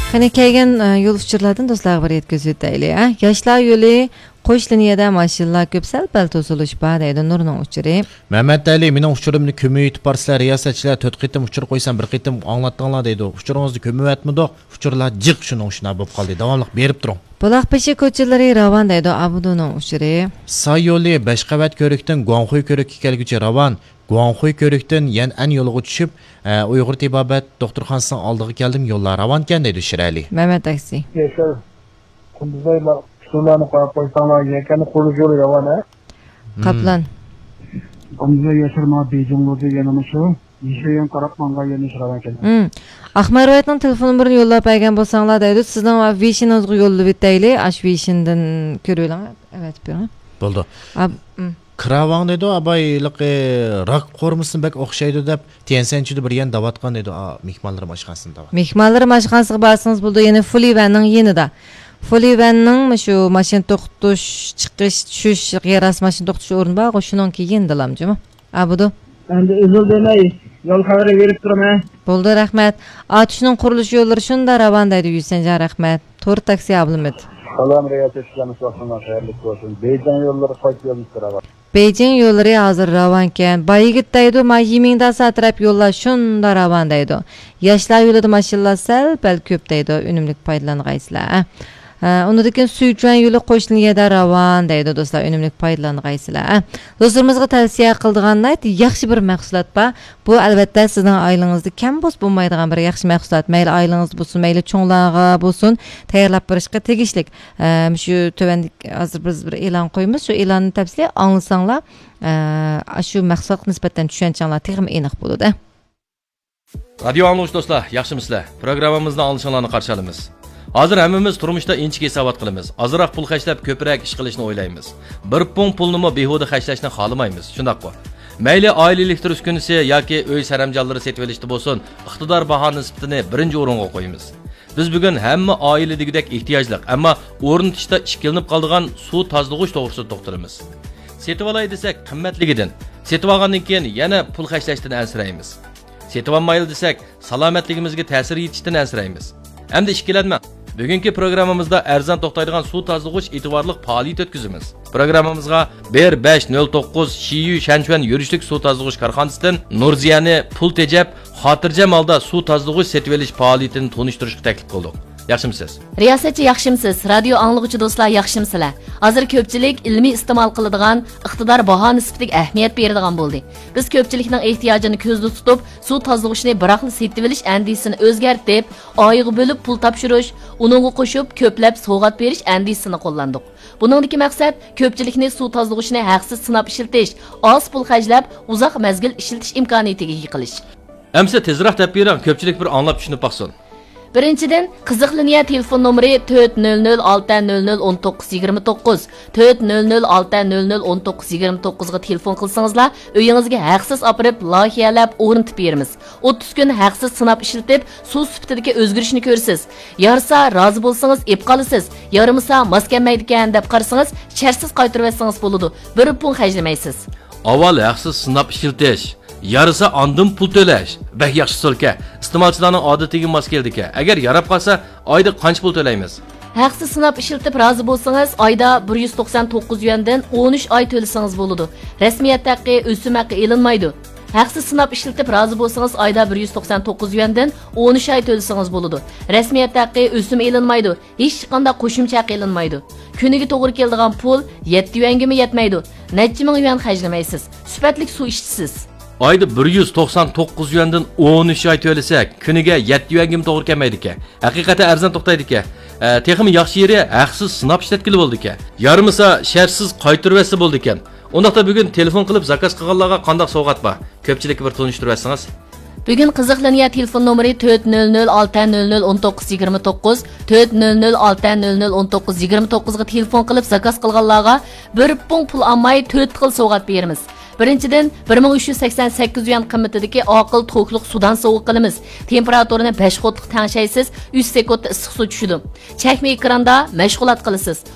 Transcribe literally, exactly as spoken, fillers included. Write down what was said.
قېنى، كەلگەن، ئە، يول ئۇچۇرلاردىن دوستلارغا بىر يەتكۈزۈۋېتەيلى، ھە؟ ياشلار يولى، قوش لىنىيەدە ماشىنىلار كۆپ، سەل-پەل توسۇلۇش بار، دەيدۇ نۇرنىڭ ئۇچۇرى. مەمەت ئەلى، مېنىڭ ئۇچۇرۇمنى كۆمۈۋېتىپ بارسىلەر، رىياسەتچىلەر، تۆت قېتىم ئۇچۇر قويسام، بىر قېتىم ئاڭلاتتىڭلار، دەيدۇ. ئۇچۇرىڭىزنى كۆمۈۋەتمىدۇق، ئۇچۇرلار جىق، شۇنىڭ ئۈچۈن بولۇپ قالدى. داۋاملىق بېرىپ تۇرۇڭ. بۇلاق بېشى كوچىلىرى راۋان، دەيدۇ ئابىدۇنىڭ ئۇچۇرى. ساي يولى، بەش قەۋەت كۆرۈكتىن گۇاڭخۇي كۆرۈككە كەلگۈچە راۋان. گۇاڭخۇي كۆرۈكتىن يەنئەن يولىغا چۈشۈپ، ئە، ئۇيغۇر تېبابەت دوختۇرخانىسىنىڭ ئالدىغا كەلدىم، يوللار راۋانكەن، دەيدۇ شىرئەلى. مەمەت تاكسى. ياشار، قۇندۇزاي، ئۇچۇرلارنى قويۇپ قويساڭلار، يەكەننى قۇرۇلۇش يولى راۋان، ھە؟ قاپلان. قۇندۇزاي ياشار، ماڭا بېيجىڭ يولى يەنە مۇشۇ. يېشىل يېڭى قاراپ ماڭغان يەنە ياشار راۋانكەن. ئاقماي رىۋايەتنىڭ تېلېفون نومۇرىنى يوللاپ بەرگەن بولساڭلار، دەيدۇ. سىزنىڭ ۋېيشىنىڭىزغا يوللىۋېتەيلى، ئاشۇ ۋېيشىندىن كۆرۈۋېلىڭ. ئەۋەتىپ بېرىڭ. بولدى. ئاب-، ئىم. كىراۋاڭ دەيدۇ، ئاباي، ھېلىقى راك قورۇمىسىنى بەك ئوخشايدۇ دەپ، تيەنسەنچۈدە بىر يەنە دەۋاتقان دەيدۇ، ئا، مېھمانلىرىم ئاشخانىسىنى دەۋاتقان. مېھمانلىرىم ئاشخانىسىغا بارسىڭىز بولىدۇ، يەنە فۇلىۋەننىڭ يېنىدا. فۇلىۋەننىڭ مۇشۇ ماشىنا توختىتىش، چىقىش، چۈشۈش، يەر ئاستى ماشىنا توختىتىش ئورنى بارغۇ، شۇنىڭكى يېنىدىلا جۇمۇ. ئابىدۇ. ئەمدى ئۈزۈل دېمەي، يول خەۋىرى بېرىپ تۇرىمەن. بولدى، رەھمەت. ئاتۇشنىڭ قۇرۇلۇش يوللىرى شۇنداق راۋان دەيدۇ، يۈسەنجان، رەھمەت. تور تاكسى ئابلىمىت. سالام، رىياسەتچىلەرنىڭ ۋاقتىڭلار خەيرلىك بولسۇن. بېيجىڭ يوللىرى قايسى يولنى راۋان؟ بېيجىڭ يوللىرى ھازىر راۋانكەن. بايىگىت دەيدۇ، ما يىمىڭداسا تەرەپ يوللار شۇنداق راۋان دەيدۇ. ياشلار يولىدا ماشىنىلار سەل-پەل كۆپ دەيدۇ، ئۈنۈملۈك پايدىلانغايسىلەر. ھە، ئۇنىڭدىن كېيىن سۈيچۈەن يولى قوش لىنىيەدە راۋان دەيدۇ، دوستلار، ئۈنۈملۈك پايدىلانغايسىلەر. ھە، دوستلىرىمىزغا تەۋسىيە قىلىدىغان ناھايىتى ياخشى بىر مەھسۇلات بار. بۇ، ئەلۋەتتە، سىزنىڭ ئائىلىڭىزدە كەم بولسا بولمايدىغان بىر ياخشى مەھسۇلات. مەيلى ئائىلىڭىزدە بولسۇن، مەيلى چوڭلارغا بولسۇن، تەييارلاپ بېرىشقا تېگىشلىك. ئە، مۇشۇ تۆۋەندە ھازىر بىز بىر ئېلان قويىمىز، شۇ ئېلاننى تەپسىلىي ئاڭلىساڭلار، ئە، ئاشۇ مەھسۇلاتقا نىسبەتەن چۈشەنچەڭلار تېخىمۇ ئېنىق بولىدۇ. رادىيو ئاڭلىغۇچى دوستلار، ياخشىمۇسىلەر؟ پروگراممىمىزنى ئاڭلىشىڭلارنى قارشى ئالىمىز. ھازىر ھەممىمىز تۇرمۇشتا ئىنچىكە ھېسابات قىلىمىز. ئازراق پۇل خەجلەپ، كۆپرەك ئىش قىلىشنى ئويلايمىز. بىر پۇڭ پۇلنىمۇ بىھۇدە خەجلەشنى خالىمايمىز. شۇنداققۇ؟ مەيلى ئائىلە ئېلېكتر ئۈسكۈنىسى ياكى ئۆي سەرەمجانلىرى سېتىۋېلىشتا بولسۇن، ئىقتىدار باھا نىسبىتىنى بىرىنچى ئورۇنغا قويىمىز. بىز بۈگۈن ھەممە ئائىلە دېگۈدەك ئېھتىياجلىق، ئەمما ئورنىتىشتا ئىككىلىنىپ قالىدىغان سۇ تازىلىغۇچ توغرىسىدا توختىلىمىز. سېتىۋالاي دېسەك، قىممەتلىكىدىن، سېتىۋالغاندىن كېيىن يەنە پۇل خەجلەشتىن ئەنسىرەيمىز. سېتىۋالمايلى دېسەك، سالامەتلىكىمىزگە تەسىر يېتىشتىن ئەنسىرەيمىز. ئەمدى ئىككىلەنمەڭ. بۈگۈنكى پروگراممىمىزدا ئەرزان توختايدىغان سۇ تازىلىغۇچ ئېتىبارلىق پائالىيىتى ئۆتكۈزىمىز. پروگراممىمىزغا بىر بەش نۆل توققۇز شىيۈ شەنچۈەن يۈرۈشلۈك سۇ تازىلىغۇچ كارخانىسىدىن نۇرزىيەنى پۇل تېجەپ، خاتىرجەم ھالدا سۇ تازىلىغۇچ سېتىۋېلىش پائالىيىتىنى تونۇشتۇرۇشقا تەكلىپ قىلدۇق. ياخشىمۇسىز؟ رىياسەتچى، ياخشىمۇسىز؟ رادىيو ئاڭلىغۇچى دوستلار، ياخشىمۇسىلەر؟ ھازىر كۆپچىلىك ئىلمىي ئىستېمال قىلىدىغان، ئىقتىدار باھا نىسبىتىگە ئەھمىيەت بېرىدىغان بولدى. بىز كۆپچىلىكنىڭ ئېھتىياجىنى كۆزدە تۇتۇپ، سۇ تازىلىغۇچنى بىراقلا سېتىۋېلىش ئەندىزىسىنى ئۆزگەرتىپ، ئايغا بۆلۈپ پۇل تاپشۇرۇش، ئۇنىڭغا قوشۇپ كۆپلەپ سوۋغات بېرىش ئەندىزىسىنى قوللاندۇق. بۇنىڭدىكى مەقسەت كۆپچىلىكنى سۇ تازىلىغۇچنى ھەقسىز سىناپ ئىشلىتىش، ئاز پۇل خەجلەپ، ئۇزاق مەزگىل ئىشلىتىش ئىمكانىيىتىگە ئىگە قىلىش. ئەمسە تېزرەك دەپ بېرىڭ، كۆپچىلىك بىر ئاڭلاپ چۈشىنىپ باقسۇن. بىرىنچىدىن، قىزىق لىنىيە تېلېفون نومۇرى تۆت نۆل نۆل ئالتە نۆل نۆل ئون توققۇز يىگىرمە توققۇز، تۆت نۆل نۆل ئالتە نۆل نۆل ئون توققۇز يىگىرمە توققۇزغا تېلېفون قىلسىڭىزلا، ئۆيىڭىزگە ھەقسىز ئاپىرىپ، لايىھەلەپ ئورنىتىپ بېرىمىز. ئوتتۇز كۈن ھەقسىز سىناپ ئىشلىتىپ، سۇ سۈپىتىدىكى ئۆزگىرىشنى كۆرىسىز. يارىسا، رازى بولسىڭىز ئېپ قالىسىز، يارىمىسا، ماس كەلمەيدىكەن دەپ قارىسىڭىز، شەرتسىز قايتۇرۇۋەتسىڭىز بولىدۇ، بىر پۇڭ خەجلىمەيسىز. ئاۋۋال ھەقسىز سىناپ ئىشلىتىش، يارىسا ئاندىن پۇل تۆلەش. بەك ياخشى ئۇسۇلكەن. ئىستېمالچىلارنىڭ ئادىتىگە ماس كېلىدىكەن. ئەگەر ياراپ قالسا، ئايدا قانچە پۇل تۆلەيمىز؟ ھەقسىز سىناپ ئىشلىتىپ رازى بولسىڭىز، ئايدا بىر يۈز توقسان توققۇز يۈەندىن ئون ئۈچ ئاي تۆلىسىڭىز بولىدۇ. رەسمىيەت ھەققى، ئۆسۈم ھەققى ئېلىنمايدۇ. ھەقسىز سىناپ ئىشلىتىپ رازى بولسىڭىز، ئايدا بىر يۈز توقسان توققۇز يۈەندىن ئون ئۈچ ئاي تۆلىسىڭىز بولىدۇ. رەسمىيەت ھەققى، ئۆسۈم ئېلىنمايدۇ. ھېچقانداق قوشۇمچە ھەق ئېلىنمايدۇ. كۈنىگە توغرا كېلىدىغان پۇل يەتتە يۈەنگىمۇ يەتمەيدۇ. نەچچە مىڭ يۈەن خەجلىمەيسىز. سۈپەتلىك سۇ ئىچىسىز. ئايدا بىر يۈز توقسان توققۇز يۈەندىن ئون ئۈچ ئاي تۆلىسەك، كۈنىگە يەتتە يۈەنگىمۇ توغرا كەلمەيدىكەن. ھەقىقەتەن ئەرزان توختايدىكەن. ئە، تېخىمۇ ياخشى يېرى، ھەقسىز سىناپ ئىشلەتكىلى بولىدىكەن. يارىمىسا، شەرتسىز قايتۇرۇۋەتسە بولىدىكەن. ئۇنداقتا بۈگۈن تېلېفون قىلىپ زاكاز قىلغانلارغا قانداق سوۋغات بار؟ كۆپچىلىككە بىر تونۇشتۇرۇۋەتسىڭىز. بۈگۈن قىزىق لىنىيە تېلېفون نومۇرى تۆت نۆل نۆل ئالتە نۆل نۆل ئون توققۇز يىگىرمە توققۇز، تۆت نۆل نۆل ئالتە نۆل نۆل ئون توققۇز يىگىرمە توققۇزغا تېلېفون قىلىپ زاكاز قىلغانلارغا بىر پۇڭ پۇل ئالماي تۆت خىل سوۋغات بېرىمىز. بىرىنچىدىن، بىر مىڭ ئۈچ يۈز سەكسەن سەككىز يۈەن قىممىتىدىكى ئاقىل توكلۇق سۇدان سوۋغا قىلىمىز. تېمپېراتۇرىنى بەش قوتلۇق تەڭشەيسىز، ئۈچ سېكۇنتتا ئىسسىق سۇ چۈشىدۇ. چەكمە ئېكراندا مەشغۇلات قىلىسىز.